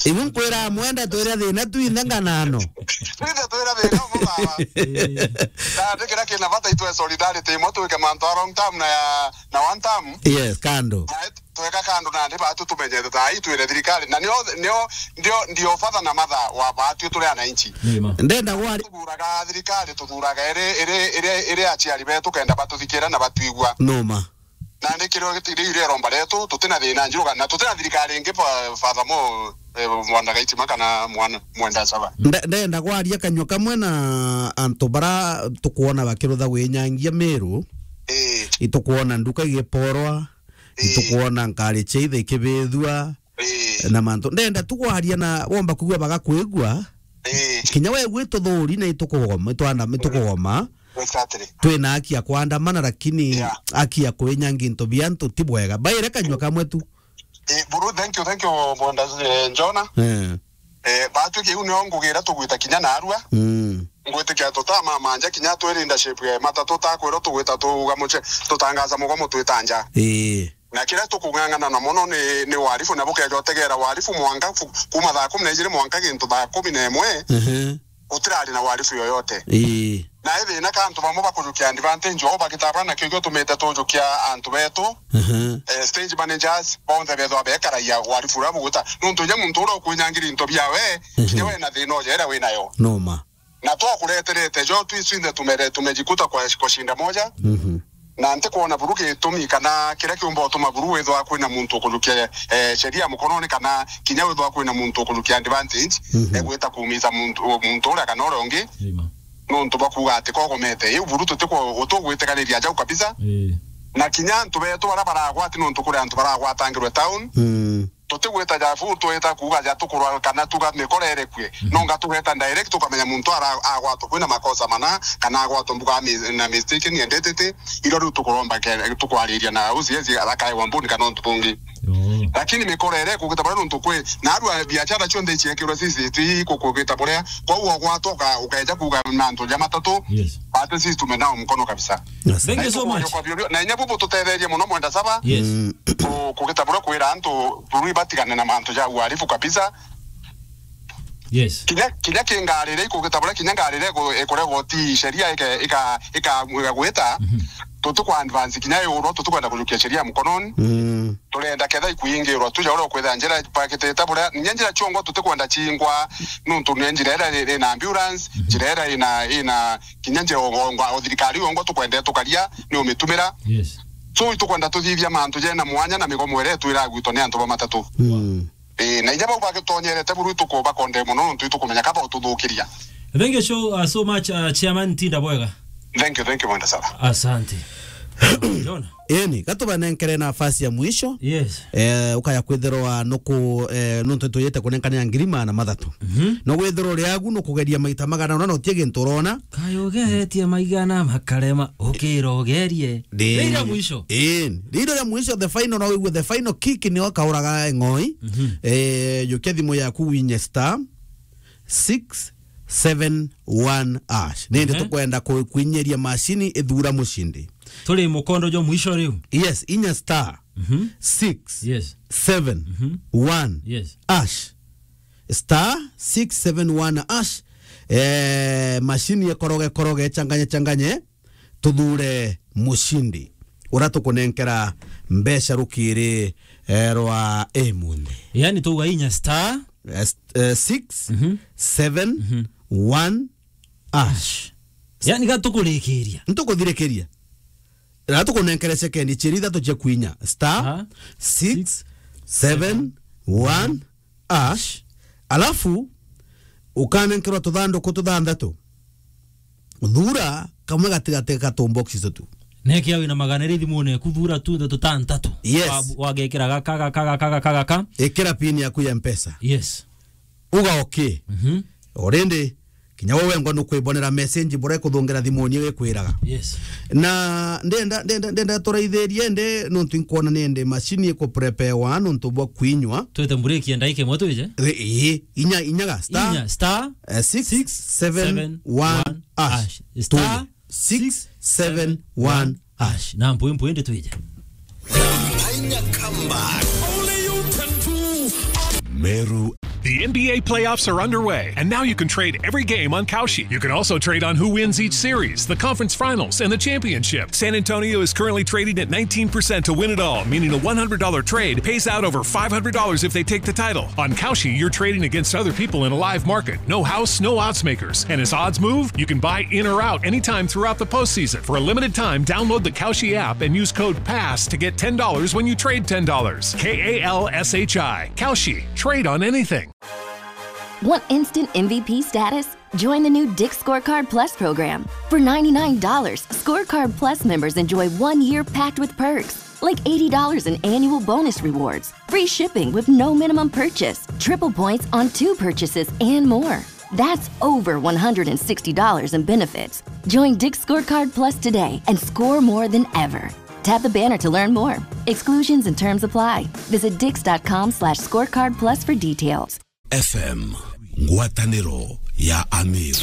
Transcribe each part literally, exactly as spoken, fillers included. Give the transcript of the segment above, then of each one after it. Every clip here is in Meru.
Ibu nkwira mwenda twire thina twinthe nganano. Twinthe twire thina umwe baba. Na ndi kira kina bata itwe solidarity imwe twike mantu a long term na ya, na one term. Yes, kando. Na tweka kando na ndi batu tumenye thaa ii twire thirikari. Na nio, nio, ndio, ndio father na mother wa batu turi ananchi. Nima. Ndenda gwari. Tuthuraga thirikari, tuthuraga iri, iri, iri, iri aciari betu kenda batuthikira na batwigua. Noma. Na ndi kirio giti-, riu riromba rietu, tutina thina njuruga, na tutina thirikari ingi fa-, furthermore, eh, mwana Gaitima kana mwana, mwenda saba. Nde-, ndenda kwaria kanyua kamwe na antu bara tukwona bakirutha gwinyangia Meru. Ii. Itukwona nduka igiporwa, ii, itukwona nkari cia ithe ikibithua, ii, na mantu. Ndenda tu kwaria na womba kugua bagakwigua. Ii. Kinya we gwituthuri na itukugoma, itwanda, itukugoma. Exactly. Twina haki ya kwandamana, lakini, yeah, haki ya kwinyangia into bia antu ti bwega. Baire kanyua kamwe tu. Eh, buru, thank you, thank you, Mwenda, eh, Njona. Eh. Eh, batwi kiu nio ngugira tugwita kinya narua. Mm. Ngwitikia tutamamanja kinya twi leadership ya matatu takwirwo tugwita tuga muche, tutangaza mugomo twita nja. Eh. Na kiria tukung'ang'ana na mono ni, ni warifu, na bukeja utegera warifu mwanka ku-, kuma thaa kumi na ijiri mwanka gintu thaa kumi na imwe, ehe, gutirari na warifu yoyote. Ii. Na ithina ka antu bamwe bakujukia advantage, o bagitabana na kigio tumite tujukia antu betu, ehe, eh, stage managers, bonthe bethwa bekaragia warifu uria bugwita. Nuntu inya muntu uria ukuinyangira into biawe, ehe, kinya we na thina uja iria winayo. Noma. Na twakureterete jo, twi swinthe tumere-, tumejikuta kwa, kwa shinda moja. Mhm. Na ntikwona buru gitumi kana kiria kiumba utuma buru withwa kwina muntu ukujukia, eh, sheria mukononi, kana kinya withwa kwina muntu ukujukia advantage, mhm, egwita kuumiza muntu, muntu uria kana uria ungi. Nima. Nuntu bwa kuuga ati kogomete. Iu buru tutikwo-, utugwitikaniria jau kabisa. Ii. Na kinya antu betu baria baragwati, nuntu kuri antu baragwatangirwe town. Mm. Tutigwita ja fu, twita kuuga ja tukurwa kana tuga mikora irekue. Mhm. Nonga tugeta direct tukamenya muntu ara-, agwatwa kwina makosa mana, kana agwatwa mbuga mi-, na mistaken identity, iro riu tukuromba ke-, tukwariria na uciezi arakae wambuni kana untu bungi. Yoo. Lakini mikora ire kugita baria nuntu kwi, na arua biashara cionthe iciekirwe C C T V kukugita buria, kwou ogwatwa uka-, ukeja kuuga mantu ja matatu, yes, batu sisi tumenao mkono kabisa. Yes. Thank you so much. Na inya bubu tutetherie muno Mwenda Saba. Yes. Mm. Ku-, kugita buria kwira antu buru ibatigane na mantu ja uhalifu kabisa. Yes. Kinya, kinya ki ngarire ikugita buria kinya ngarire iku-, ikuregwa ti sheria ike-, ika-, ika-, ikagwita. Mhm. Tutiku advance kinya iurwa, tutikwenda kujukia sheria mkononi. Mm. Turenda ketha ikuingirwa tuja uria ukwitha njira pakitite buria, kinya njira ciongwa tutikwenda ciingwa, nuntu ni njira iria ina ambulance, mhm, njira iria ina, ina kinya njira ongwa, o thirikari ongwa tukwenda tukaria ni umitumira. Yes. So itukwenda tuthithia mantu jena mwanya na migomo iria itwira gwitwa ni antu ba matatu. Mm. Eh, na inya bau bagitonyerete buru itukubakonde muno nuntu itukumenya kaba ututhukiria. Thank you so, uh, so much, uh, Chairman Tinda Bwega. Thank you, thank you, Mwenda Saba. Asante. Jona. Eni, gatubanenkere nafasi ya mwisho. Yes. Eh, ukaya kwithirwa nuku, eh, nuntu tuyite kunenkana ya ngiri magana mathatu. Mhm. No withirwa uri agu nukugeria maita magana ona na utie gintu urona. Kayo getie maigana makarema, ukira ugerie. Ndi-, rira mwisho. Ii, rira rya mwisho, the final, na wigue the final kick nio kauraga ng'oi. Mhm. Eh, jukia thimu yaku winye star six seven one hash. Nindi, ehe, tukwenda ku-, kuinyeria mashini ithura mushindi. Turi mukondo jo mwisho riu. Yes, inya star, mhm, six, yes, seven, mhm, one, yes, hash. Star six seven one hash. Eh, mashini ekoroge, koroge, changanye, changanye. Tuthure mushindi uria tukunenkera mbeca rukiri, eh, rwa imunthi. Yani tuga inya star, eh, s-, eh, six seven one hash. Yani ga tukurikiria. Ntukuthirikiria. Na tukunenkere sekendi ciiri ithatu cia kwinya. Aha. Star six seven one hash, alafu ukanenkerwa tuthanduku tuthanthatu. Thura kamwe gatigati ga tumboxi tutu. Nekia wina magana iri thimune eku, thura tu ndeto ta ntatu. Yes. Wa-, wagekira gaka, gaka, gaka, gaka, gaka. Ikira pin yaku ya Mpesa. Yes. Uga okay. Mhm. Already, kinya we wengwa nukwibonera message buria ikuthungira thimuni igikwiraga. Yes. Na ndenda, ndenda, ndenda turaithirie ndi nuntu inkwona ni ndi mashini ikuprepewa nuntu bwa kwinywa. Twite mburiki ya ndaika imwe twije? Ri-, ii, inya, inyaga, star, inya, star, eh, six seven one hash. Star twije. Six seven one hash. Na mpwi mpwi ndi twije. Meru The N B A playoffs are underway, and now you can trade every game on Kalshi. You can also trade on who wins each series, the conference finals, and the championship. San Antonio is currently trading at nineteen percent to win it all, meaning a one hundred dollar trade pays out over five hundred dollars if they take the title. On Kalshi, you're trading against other people in a live market. No house, no odds makers. And as odds move, you can buy in or out anytime throughout the postseason. For a limited time, download the Kalshi app and use code PASS to get ten dollars when you trade ten dollars. K A L S H I. Kalshi. Trade on anything. Want instant M V P status? Join the new Dick's Scorecard Plus program. For ninety-nine dollars, Scorecard Plus members enjoy one year packed with perks, like eighty dollars in annual bonus rewards, free shipping with no minimum purchase, triple points on two purchases, and more. That's over one hundred sixty dollars in benefits. Join Dick's Scorecard Plus today and score more than ever. Tap the banner to learn more. Exclusions and terms apply. Visit dicks.com slash scorecard plus for details. F M, ngwatanĩro ya Amir.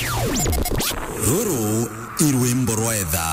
Rũrũ i rwĩmbo rwa etha.